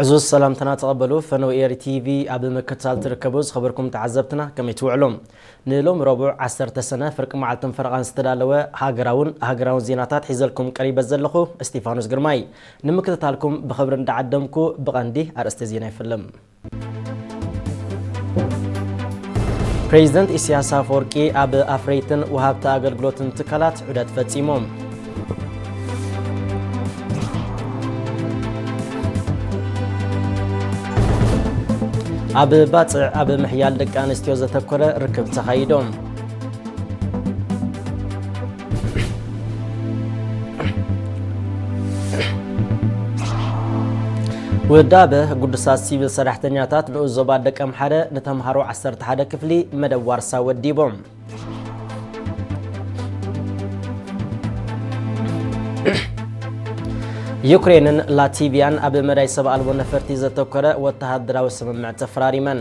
ዕዙዝ ሰላምትና ተቐበሉ። ፈነው ኤሪ ቲቪ ኣብ ምክትታል ትርከቡ ዝኸበርኩም ተዓዘብትና ከመይ ትውዕሉ? ንሎም ረቡዕ ዓሰርተ ሰነ ፍርቂ መዓልትን ፈረቓን ዝተዳለወ ሃገራውን ሃገራውን ዜናታት ሒዘልኩም ቀሪበ ዘለኹ እስጢፋኖስ ግርማይ። ንምክትታልኩም ብኽብሪ እንዳዓደምኩ ብቐንዲ ኣርእስተ ዜና ይፍልም። ፕሬዚደንት ኢሳያስ ኣፈወርቂ ኣብ ኣፍረይትን ወሃብቲ ኣገልግሎትን ትካላት ዑደት ፈጺሞም። ኣብ ባጽዕ ኣብ ምሕያል ደቂ ኣንስትዮ ዘተኮረ ርክብ ተኻይዶም። ውዳበ ግዱሳት ሲቪል ሰራሕተኛታት ንኡስ ዞባ ደቀምሓረ ንተምሃሮ ዓሰርተ ሓደ ክፍሊ መደብ ዋርሳ ወዲቦም። ዩክሬንን ላቲቪያን ኣብ መዳይ ሰብ ኣልቦ ነፈርቲ ዘተኮረ ወተሃደራዊ ስምምዕ ተፈራሪመን።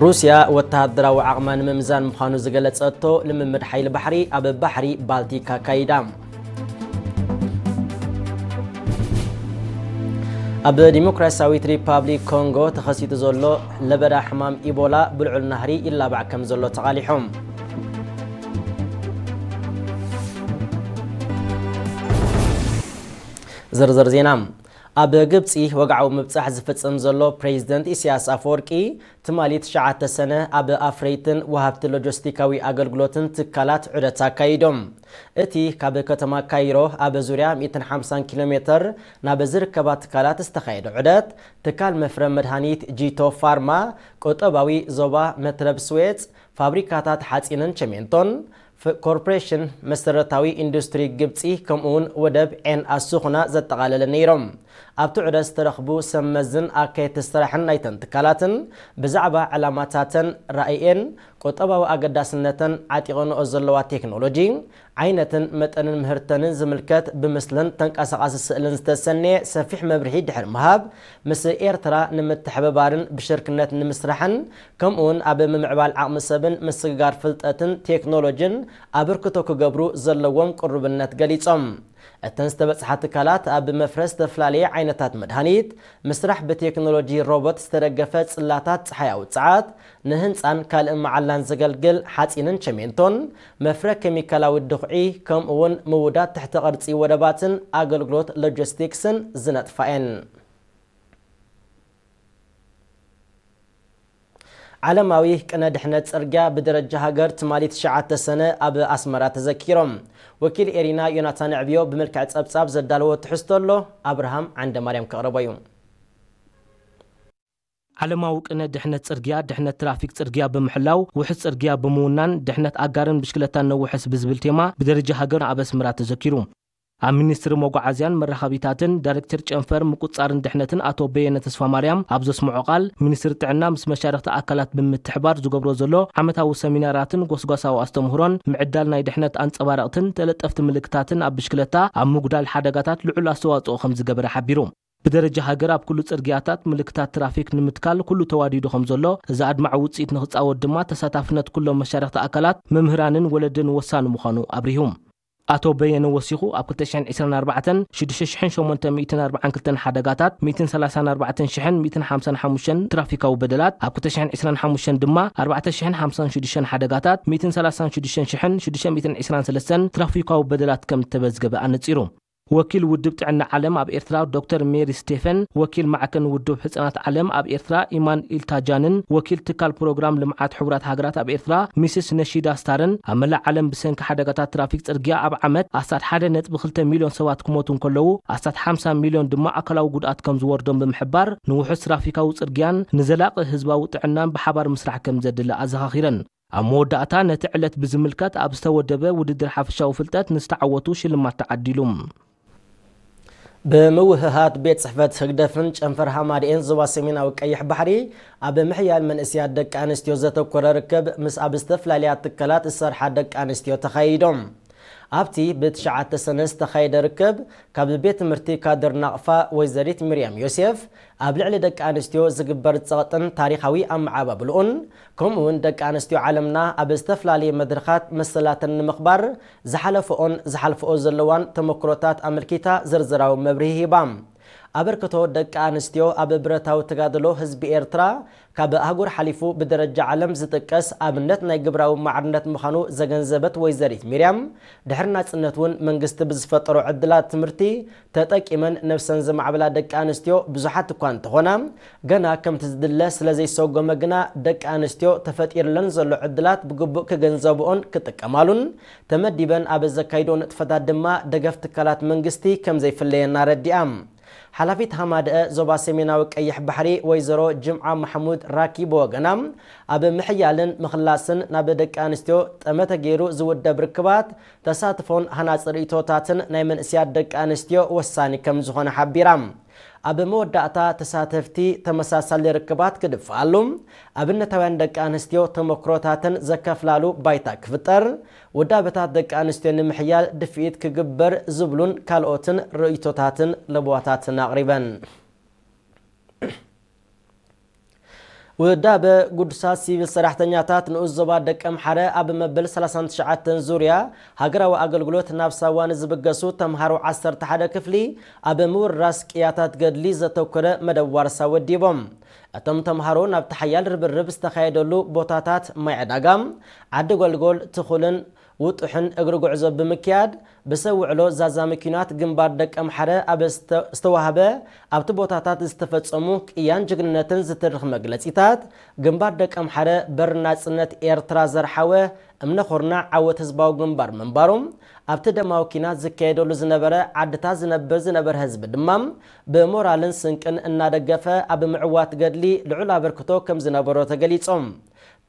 ሩስያ ወተሃደራዊ ዓቕማ ንምምዛን ምዃኑ ዝገለጸቶ ልምምድ ሓይሊ ባሕሪ ኣብ ባሕሪ ባልቲክ ኣካይዳ። ኣብ ዲሞክራሲያዊት ሪፓብሊክ ኮንጎ ተኸሲቱ ዘሎ ለበዳ ሕማም ኢቦላ ብልዑል ናህሪ ይላባዕ ከም ዘሎ ተቓሊሖም። ዝርዝር ዜና። ኣብ ግብጺ ወግዓዊ ምብጻሕ ዝፍጽም ዘሎ ፕሬዚደንት ኢሳያስ ኣፈወርቂ፣ ትማሊ ትሽዓተ ሰነ ኣብ ኣፍረይትን ወሃብቲ ሎጂስቲካዊ ኣገልግሎትን ትካላት ዑደት ኣካይዶም። እቲ ካብ ከተማ ካይሮ ኣብ ዙርያ ሚእትን ሓምሳን ኪሎ ሜትር ናብ ዝርከባ ትካላት ዝተኻየደ ዑደት፣ ትካል መፍረ መድሃኒት ጂቶ ፋርማ፣ ቁጠባዊ ዞባ መትረብ ስዌጽ፣ ፋብሪካታት ሓጺንን ቸሜንቶን፣ ፍ-፣ ኮርፖሬሽን መሰረታዊ ኢንዱስትሪ ግብጺ፣ ከምኡውን ወደብ ዔን ኣሱኹና ዘጠቓለለ ነይሮም። ኣብቲ ዑደት ዝተረኽቡ ሰብ መዝን ኣካየድቲ ስራሕን ናይተን ትካላትን ብዛዕባ ዕላማታተን፣ ራእየን፣ ቁጠባዊ ኣገዳስነተን፣ ዓጢቐንኦ ዘለዋ ቴክኖሎጂ፣ ዓይነትን መጠንን ምህርተንን ዝምልከት ብምስልን ተንቀሳቓሲ ስእልን ዝተሰነየ ሰፊሕ መብርሂ ድሕሪ ምሃብ፣ ምስ ኤርትራ ንምትሕብባርን ብሽርክነት ንምስራሕን ከምኡውን ኣብ ምምዕባል ዓቕሚ ሰብን ምስግጋር ፍልጠትን ቴክኖሎጂን ኣበርክቶ ክገብሩ ዘለዎም ቅሩብነት ገሊጾም። እተን ዝተበጽሓ ትካላት ኣብ መፍረ ዝተፈላለየ ዓይነታት መድሃኒት፣ ምስራሕ ብቴክኖሎጂ ሮቦት ዝተደገፈ ጽላታት ጸሓያዊ ጸዓት፣ ንህንጻን ካልእ መዓላን ዘገልግል ሓጺንን ቸሜንቶን፣ መፍረ ኬሚካላዊ ድኹዒ፣ ከምኡውን ምውዳድ ትሕተ ቅርጺ ወደባትን ኣገልግሎት ሎጂስቲክስን ዝነጥፋ እየን። ዓለማዊ ቅነ ድሕነት ጽርግያ ብደረጃ ሃገር ትማሊ ትሽዓተ ሰነ ኣብ ኣስመራ ተዘኪሮም። ወኪል ኤሪና ዮናታን ዕብዮ ብመልክዕ ጸብጻብ ዘዳለዎ ትሕዝቶ ኣሎ፣ ኣብርሃም ዓንደ ማርያም ከቕርቦ እዩ። ዓለማዊ ቅነ ድሕነት ጽርግያ፣ ድሕነት ትራፊክ ጽርግያ ብምሕላው፣ ውሑስ ጽርግያ ብምውናን፣ ድሕነት ኣጋርን ብሽክለታን ነውሕስ ብዝብል ቴማ ብደረጃ ሃገር ኣብ ኣስመራ ተዘኪሩ። ኣብ ሚኒስትሪ መጓዓዝያን መራኸቢታትን ዳይሬክተር ጨንፈር ምቁጽጻርን ድሕነትን ኣቶ በየነ ተስፋማርያም ኣብ ዘስምዖ ቃል፣ ሚኒስትሪ ጥዕና ምስ መሻርኽቲ ኣካላት ብምትሕባር ዝገብሮ ዘሎ ዓመታዊ ሰሚናራትን ጎስጓሳዊ ኣስተምህሮን ምዕዳል ናይ ድሕነት ኣንጸባረቕትን ተለጠፍቲ ምልክታትን ኣብ ብሽክለታ ኣብ ምጉዳል ሓደጋታት ልዑል ኣስተዋጽኦ ከም ዝገበረ ሓቢሩ። ብደረጃ ሃገር ኣብ ኩሉ ጽርግያታት ምልክታት ትራፊክ ንምትካል ኩሉ ተዋዲዱ ከም ዘሎ፣ እዚ ኣድማዒ ውጽኢት ንኽጻወት ድማ ተሳታፍነት ኩሎም መሻርኽቲ ኣካላት፣ መምህራንን ወለድን ወሳኒ ምዃኑ ኣብሪሁ። ኣቶ በየነ ወሲኹ፣ ኣብ ክልተ ሽሕን ዕስራን ኣርባዕተን ሽዱሽተ ሽሕን ሸሞንተ ሚእትን ኣርባዓን ክልተን ሓደጋታት፣ ሚእትን ሰላሳን ኣርባዕተን ሽሕን ሚእትን ሓምሳን ሓሙሽተን ትራፊካዊ በደላት፣ ኣብ ክልተ ሽሕን ዕስራን ሓሙሽተን ድማ ኣርባዕተ ሽሕን ሓምሳን ሽዱሽተን ሓደጋታት፣ ሚእትን ሰላሳን ሽዱሽተን ሽሕን ሽዱሽተ ሚእትን ዕስራን ሰለስተን ትራፊካዊ በደላት ከም እተመዝገበ ኣነጺሩ። ወኪል ውድብ ጥዕና ዓለም ኣብ ኤርትራ ዶክተር ሜሪ ስቴፈን፣ ወኪል ማዕከን ውድብ ሕጻናት ዓለም ኣብ ኤርትራ ኢማን ኢልታጃንን፣ ወኪል ትካል ፕሮግራም ልምዓት ሕቡራት ሃገራት ኣብ ኤርትራ ሚስስ ነሺዳ ስታርን፣ ኣብ መላእ ዓለም ብሰንኪ ሓደጋታት ትራፊክ ጽርግያ ኣብ ዓመት ኣስታት ሓደ ነጥቢ ክልተ ሚልዮን ሰባት ክሞቱ እንከለዉ፣ ኣስታት ሓምሳ ሚልዮን ድማ ኣካላዊ ጉድኣት ከም ዝወርዶም ብምሕባር፣ ንውሑስ ትራፊካዊ ጽርግያን ንዘላቒ ህዝባዊ ጥዕናን ብሓባር ምስራሕ ከም ዘድሊ ኣዘኻኺረን። ኣብ መወዳእታ፣ ነቲ ዕለት ብዝምልከት ኣብ ዝተወደበ ውድድር ሓፈሻዊ ፍልጠት ንዝተዓወቱ ሽልማት ተዓዲሉ። ብምውህሃድ ቤት ጽሕፈት ህግደፍን ጨንፈር ሃማደኤን ዞባ ሰሜናዊ ቀይሕ ባሕሪ፣ ኣብ ምሕያል መንእስያት ደቂ ኣንስትዮ ዘተኮረ ርክብ ምስ ኣብ ዝተፈላለያ ትካላት ዝሰርሓ ደቂ ኣንስትዮ ተኻይዶም። ኣብቲ ብትሽዓተ ሰነ ዝተኻየደ ርክብ፣ ካብ ቤት ትምህርቲ ካድር ናቕፋ ወይዘሪት ሚርያም ዮሴፍ፣ ኣብ ልዕሊ ደቂ ኣንስትዮ ዝግበር ጸቕጥን ታሪኻዊ ኣመዓባብልኡን፣ ከምኡ እውን ደቂ ኣንስትዮ ዓለምና ኣብ ዝተፈላለየ መድረኻት መሰላተን ንምኽባር ዝሓለፈኦን ዝሓልፈኦ ዘለዋን ተመክሮታት ኣመልኪታ ዝርዝራዊ መብርሂ ሂባ። ኣበርክቶ ደቂ ኣንስትዮ ኣብ ብረታዊ ተጋድሎ ህዝቢ ኤርትራ ካብ ኣህጉር ሓሊፉ ብደረጃ ዓለም ዝጥቀስ ኣብነት ናይ ግብራዊ ማዕርነት ምዃኑ ዘገንዘበት ወይዘሪት ሚርያም፣ ድሕሪ ናጽነት እውን መንግስቲ ብዝፈጠሮ ዕድላት ትምህርቲ ተጠቂመን ነብሰን ዘማዕበላ ደቂ ኣንስትዮ ብዙሓት እኳ እንተኾና፣ ገና ከምቲ ዝድለ ስለ ዘይሰጎመ ግና ደቂ ኣንስትዮ ተፈጢርለን ዘሎ ዕድላት ብግቡእ ክግንዘብኦን ክጥቀማሉን፣ ተመዲበን ኣብ ዘካይድኦ ንጥፈታት ድማ ደገፍ ትካላት መንግስቲ ከም ዘይፍለየን ኣረዲኣ። ሓላፊት ሃማደአ ዞባ ሰሜናዊ ቀይሕ ባሕሪ ወይዘሮ ጅምዓ ማሕሙድ ራኪ ብወገና፣ ኣብ ምሕያልን ምኽላስን ናብ ደቂ ኣንስትዮ ጠመተ ገይሩ ዝውደብ ርክባት ተሳትፎን ሃናጺ ርእይቶታትን ናይ መንእስያት ደቂ ኣንስትዮ ወሳኒ ከም ዝኾነ ሓቢራ። ኣብ መወዳእታ ተሳተፍቲ ተመሳሳሊ ርክባት ክድፍኣሉ፣ ኣብነታውያን ደቂ ኣንስትዮ ተመክሮታተን ዘካፍላሉ ባይታ ክፍጠር፣ ውዳበታት ደቂ ኣንስትዮ ንምሕያል ድፍኢት ክግበር ዝብሉን ካልኦትን ርእይቶታትን ለበዋታትን ኣቕሪበን። ውዳበ ግዱሳት ሲቪል ሰራሕተኛታት ንኡስ ዞባ ደቀምሓረ ኣብ መበል ሰላሳን ትሽዓተን ዙርያ ሃገራዊ ኣገልግሎት ናብ ሳዋ ንዝብገሱ ተምሃሮ ዓሰርተ ሓደ ክፍሊ ኣብ ምውርራስ ቅያታት ገድሊ ዘተኮረ መደብ ዋርሳ ወዲቦም። እቶም ተምሃሮ ናብቲ ሓያል ርብርብ ዝተኻየደሉ ቦታታት ማይ ዕዳጋ፣ ዓዲ ጎልጎል፣ ትኹልን ውጡሕን እግሪ ጉዕዞ ብምክያድ፣ ብሰብ ውዕሎ ዛዛሚ ኲናት ግንባር ደቀምሓረ ኣብ ዝተ-፣ ዝተዋህበ፣ ኣብቲ ቦታታት ዝተፈጸሙ ቅያን ጅግንነትን ዝትርኽ መግለጺታት፣ ግንባር ደቀምሓረ በር ናጽነት ኤርትራ ዘርሓወ እምነ ኹርናዕ ዓወት ህዝባዊ ግንባር ምንባሩ፣ ኣብቲ ደማዊ ኲናት ዝካየደሉ ዝነበረ ዓድታት ዝነብር ዝነበረ ህዝቢ ድማ ብሞራልን ስንቅን እናደገፈ ኣብ ምዕዋት ገድሊ ልዑል ኣበርክቶ ከም ዝነበሮ ተገሊጾም።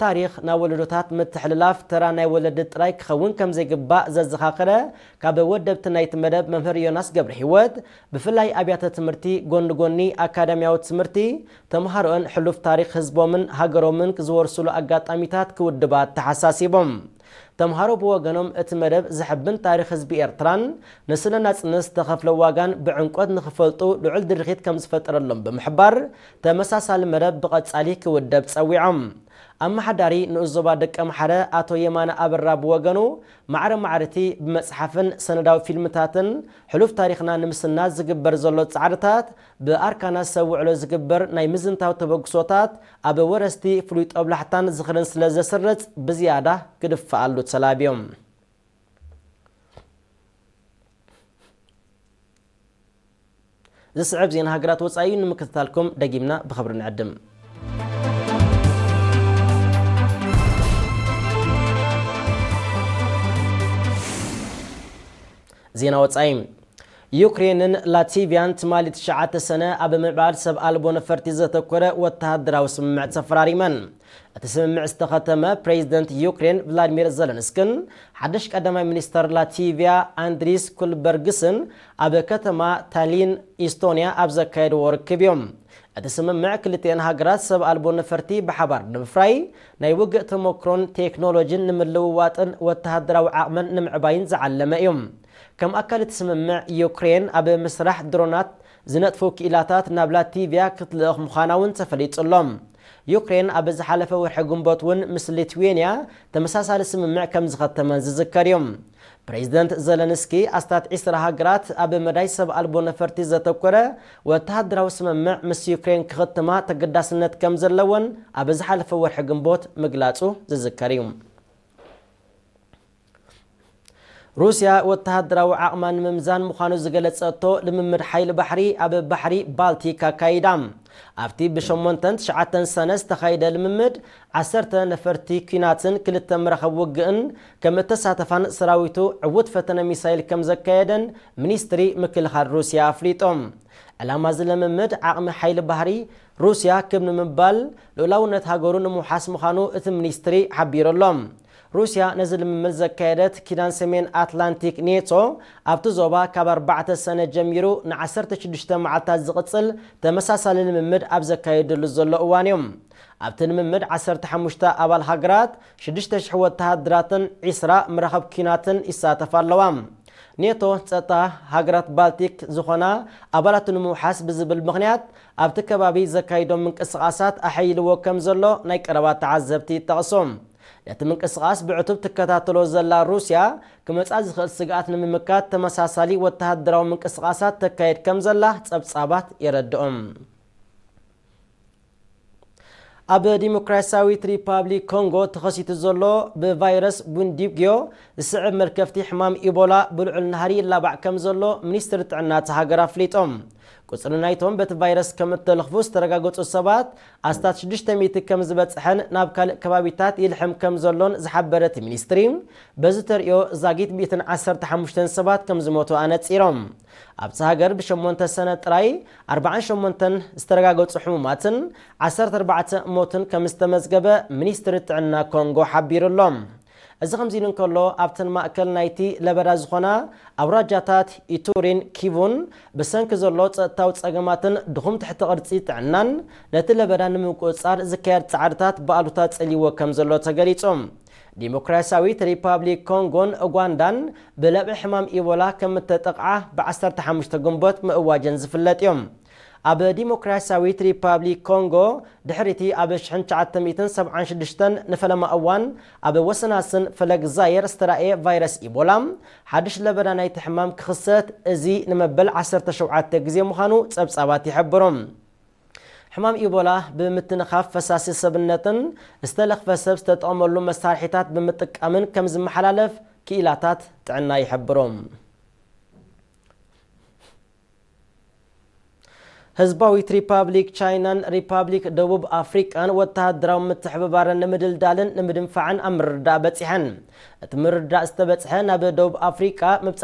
ታሪኽ ናብ ወለዶታት ምትሕልላፍ ተራ ናይ ወለዲ ጥራይ ክኸውን ከም ዘይግባእ ዘዘኻኸረ ካብ ወደብቲ ናይቲ መደብ መምህር ዮናስ ገብረ ህይወት፣ ብፍላይ ኣብያተ ትምህርቲ ጎኒ ጎኒ ኣካዳሚያዊ ትምህርቲ ተምሃሮኦን ሕሉፍ ታሪኽ ህዝቦምን ሃገሮምን ዝወርስሉ ኣጋጣሚታት ክውድባ ኣተሓሳሲቦም። ተምሃሮ ብወገኖም እቲ መደብ ዘሕብን ታሪኽ ህዝቢ ኤርትራን ንስለ ናጽነት ዝተኸፍለ ዋጋን ብዕምቆት ንኽፈልጡ ልዑል ድርኺት ከም ዝፈጠረሎም ብምሕባር፣ ተመሳሳሊ መደብ ብቐጻሊ ክውደብ ጸዊዖም። ኣመሓዳሪ ንኡስ ዞባ ደቀምሓረ ኣቶ የማነ ኣበራ ብወገኑ፣ ማዕረ ማዕረቲ ብመጽሓፍን ሰነዳዊ ፊልምታትን ሕሉፍ ታሪኽና ንምስናድ ዝግበር ዘሎ ጻዕርታት ብኣርካናት ሰብ ውዕሎ ዝግበር ናይ ምዝንታው ተበግሶታት ኣብ ወረስቲ ፍሉይ ጦብላሕታን ዝኽርን ስለ ዘስርጽ ብዝያዳ ክድፍኣሉ ተላብዮም። ዝስዕብ ዜና ሃገራት ወጻኢ እዩ። ንምክትታልኩም ደጊምና ብኽብሪ ንዕድም። ዜና ወጻኢ። ዩክሬንን ላቲቪያን ትማሊ ትሽዓተ ሰነ ኣብ ምዕባል ሰብ ኣልቦ ነፈርቲ ዘተኮረ ወተሃደራዊ ስምምዕ ተፈራሪመን። እቲ ስምምዕ ዝተኸተመ ፕሬዚደንት ዩክሬን ቭላዲሚር ዘለንስክን ሓድሽ ቀዳማይ ሚኒስተር ላቲቪያ ኣንድሪስ ኩልበርግስን ኣብ ከተማ ታሊን ኢስቶንያ ኣብ ዘካየድዎ ርክብ እዮም። እቲ ስምምዕ ክልቲኤን ሃገራት ሰብ ኣልቦ ነፈርቲ ብሓባር ንምፍራይ፣ ናይ ውግእ ተመክሮን ቴክኖሎጂን ንምልውዋጥን ወተሃደራዊ ዓቕመን ንምዕባይን ዝዓለመ እዩ። ከም ኣካል እቲ ስምምዕ፣ ዩክሬን ኣብ ምስራሕ ድሮናት ዝነጥፉ ክኢላታት ናብ ላቲቪያ ክትልእኽ ምዃና እውን ተፈሊጡ ኣሎ። ዩክሬን ኣብ ዝሓለፈ ወርሒ ግንቦት እውን ምስ ሊትዌንያ ተመሳሳሊ ስምምዕ ከም ዝኸተመን ዝዝከር እዩ። ፕሬዚደንት ዘለንስኪ፣ ኣስታት ዒስራ ሃገራት ኣብ መዳይ ሰብ ኣልቦ ነፈርቲ ዘተኮረ ወተሃደራዊ ስምምዕ ምስ ዩክሬን ክኽትማ ተገዳስነት ከም ዘለወን ኣብ ዝሓለፈ ወርሒ ግንቦት ምግላጹ ዝዝከር እዩ። ሩስያ ወተሃደራዊ ዓቕማ ንምምዛን ምዃኑ ዝገለጸቶ ልምምድ ሓይሊ ባሕሪ ኣብ ባሕሪ ባልቲክ ኣካይዳ። ኣብቲ ብሸሞንተን ትሽዓተን ሰነ ዝተኻየደ ልምምድ፣ ዓሰርተ ነፈርቲ ኲናትን ክልተ መራኸብ ውግእን ከም እተሳተፋን ሰራዊቱ ዕዉት ፈተነ ሚሳይል ከም ዘካየደን ሚኒስትሪ ምክልኻል ሩስያ ኣፍሊጦም። ዕላማ እዚ ልምምድ ዓቕሚ ሓይሊ ባሕሪ ሩስያ ክብ ንምባል ልኡላውነት ሃገሩ ንምውሓስ ምዃኑ እቲ ሚኒስትሪ ሓቢሩ ኣሎ። ሩስያ ነዚ ልምምድ ዘካየደት፣ ኪዳን ሰሜን ኣትላንቲክ ኔቶ ኣብቲ ዞባ ካብ ኣርባዕተ ሰነ ጀሚሩ ንዓሰርተ ሽዱሽተ መዓልታት ዝቕጽል ተመሳሳሊ ልምምድ ኣብ ዘካየደሉ ዘሎ እዋን እዩ። ኣብቲ ልምምድ ዓሰርተ ሓሙሽተ ኣባል ሃገራት፣ ሽዱሽተ ሽሕ ወተሃደራትን ዒስራ መራኸብ ኲናትን ይሳተፋ ኣለዋ። ኔቶ ጸጥታ ሃገራት ባልቲክ ዝኾና ኣባላቱ ንምውሓስ ብዝብል ምኽንያት ኣብቲ ከባቢ ዘካይዶም ምንቅስቓሳት ኣሐይልዎ ከም ዘሎ ናይ ቀረባ ተዓዘብቲ ይጠቕሱ። ነቲ ምንቅስቓስ ብዕቱብ ትከታተሎ ዘላ ሩስያ፣ ክመጻ ዝኽእል ስግኣት ንምምካት ተመሳሳሊ ወተሃደራዊ ምንቅስቓሳት ተካየድ ከም ዘላ ጸብጻባት የረድኦም። ኣብ ዲሞክራሲያዊት ሪፓብሊክ ኮንጎ ተኸሲቱ ዘሎ ብቫይረስ ቡንዲብግዮ ዝስዕብ መልከፍቲ ሕማም ኢቦላ ብልዑል ናህሪ ይላባዕ ከም ዘሎ ሚኒስትሪ ጥዕና እታ ሃገር ኣፍሊጦም። ቁጽሪ ናይቶም በቲ ቫይረስ ከም እተለኽፉ ዝተረጋገጹ ሰባት ኣስታት ሽዱሽተ ሚእቲ ከም ዝበጽሐን ናብ ካልእ ከባቢታት ይልሕም ከም ዘሎን ዝሓበረ እቲ ሚኒስትሪ፣ በዚ ተርእዮ ዛጊት ሚእትን ዓሰርተ ሓሙሽተን ሰባት ከም ዝሞቱ ኣነጺሮም። ኣብቲ ሃገር ብሸሞንተ ሰነ ጥራይ ኣርባዓን ሸሞንተን ዝተረጋገጹ ሕሙማትን ዓሰርተ ኣርባዕተ ሞትን ከም ዝተመዝገበ ሚኒስትሪ ጥዕና ኮንጎ ሓቢሩ ኣሎ። እዚ ከምዚ ኢሉ እንከሎ፣ ኣብተን ማእከል ናይቲ ለበዳ ዝኾና ኣውራጃታት ኢቱሪን ኪቡን ብሰንኪ ዘሎ ጸጥታዊ ጸገማትን ድኹም ትሕቲ ቅርጺ ጥዕናን ነቲ ለበዳ ንምቁጽጻር ዝካየድ ጻዕርታት ብኣሉታ ጸሊዎ ከም ዘሎ ተገሊጹ። ዲሞክራሲያዊት ሪፓብሊክ ኮንጎን ኡጋንዳን ብለብዒ ሕማም ኢቦላ ከም እተጠቕዓ ብ ዓሰርተ ሓሙሽተ ግንቦት ምእዋጀን ዝፍለጥ እዮም። ኣብ ዲሞክራሲያዊት ሪፓብሊክ ኮንጎ ድሕሪቲ ኣብ ሽሕን ትሽዓተ ሚእትን ሰብዓን ሽዱሽተን ንፈለማ እዋን ኣብ ወሰናስን ፈለግ ዛየር ዝተራእየ ቫይረስ ኢቦላ ሓድሽ ለበዳ ናይቲ ሕማም ክኽሰት፣ እዚ ንመበል ዓሰርተ ሸውዓተ ግዜ ምዃኑ ጸብጻባት ይሕብሩ። ሕማም ኢቦላ ብምትንኻፍ ፈሳሲ ሰብነትን ዝተለኽፈ ሰብ ዝተጠቐመሉ መሳርሒታት ብምጥቃምን ከም ዝመሓላለፍ ክኢላታት ጥዕና ይሕብሩ። ህዝባዊት ሪፓብሊክ ቻይናን ሪፓብሊክ ደቡብ ኣፍሪቃን ወተሃደራዊ ምትሕብባረን ንምድልዳልን ንምድንፋዕን ኣብ ምርድዳእ በጺሐን። እቲ ምርድዳእ ዝተበጽሐ ናብ ደቡብ ኣፍሪቃ ምብጻሕ